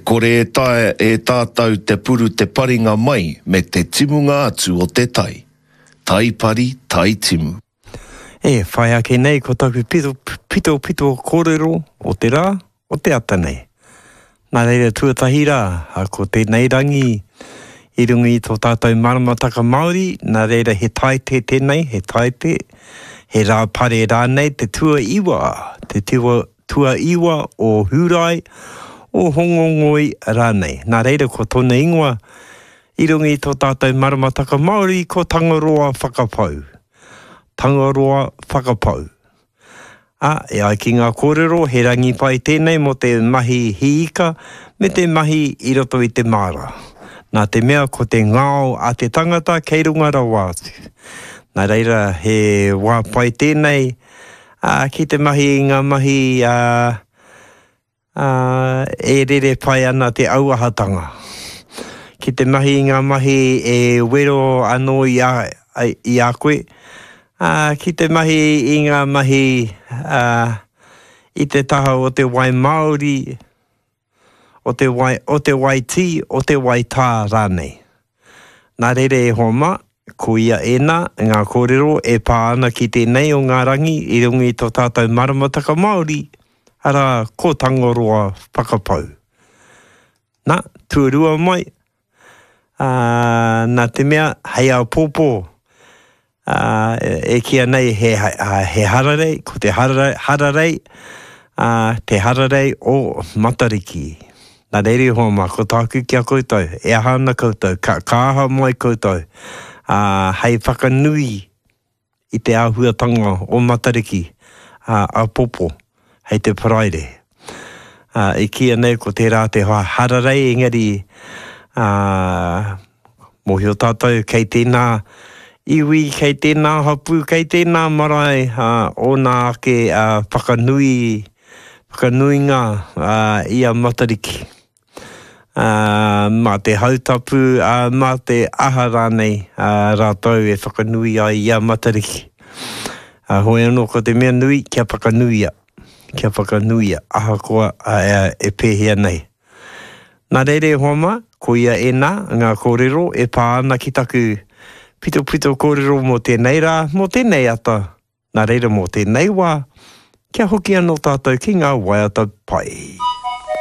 kore e taea e tātou te puru te paringa mai me te timunga atu o te tai. Tai pari, tai timu. E whai ake nei ko taku pito, pitopito kōrero o te rā, o te ata nei. Nā reira tuatahi rā, ko tēnei rangi i runga i tō tātou maramataka Māori, nā reira he taite tēnei, he taite, he rā pare rānei te tuaiwa, te tuaiwa o Hūrae, o Hongongoi rānei. Nā reira ko tōna ingoa i runga i tō tātou maramataka Māori ko Tangaroa Whakapau. Tangaroa Whakapau. Ā, e ai ki ngā kōrero, he rangi pai tēnei mō te mahi hī ika me te mahi i roto i te māra. Nā te mea ko te ngao a te tangata kei runga rawa atu. Nā reira, he wā pai tēnei, ā, ki te mahi i ngā mahi, ā, Ā, e rere pai ana te auahatanga. Ki te mahi i ngā mahi e wero anō i a, i a koe, ā, ki te mahi i ngā mahi, ā, i te taha o te wai māori, o te wai, o te wai tī, o te wai tā rānei. Nā reira e hoa mā, koia ēnā ngā kōrero e pā ana ki tēnei o ngā rangi i runga i tō tātou maramataka Māori, arā, ko Tangaroa Whakapau. Nā, tuarua mai, ā, nā te mea, hei āpōpō, ā, e kīia nei he, he hararei, ko te hararei, hararei, ā, te hararei o Matariki. Nā reira e hoa mā, ko tāku ki a koutou, e aha ana koutou, ka, ka aha mai koutou, ā, hei whakanui i te āhuatanga o Matariki, ā, āpōpō, hei te Paraire. Ā, i kīia nei ko tērā te hararei, engari, ā, mōhio tātou kei tēnā iwi, kei tēnā hapū, kei tēnā marae, ā, ōna ake, ā, whakanui, whakanuinga, ā, i a Matariki. Ā, mā te hautapu, ā, mā te aha rānei, ā, rātou e whakanui ai i a Matariki. Ā, hoi anō ko te mea nui kia whakanuia, kia whakanuia, ahakoa e pēhea nei. Nā reira e hoa mā, koia ēnā ngā kōrero e pā ana ki taku pitopito kōrero mō tēnei rā, mō tēnei ata, Nā reira mō tēnei wā, kia hoki anō tātou ki ngā waiata pai.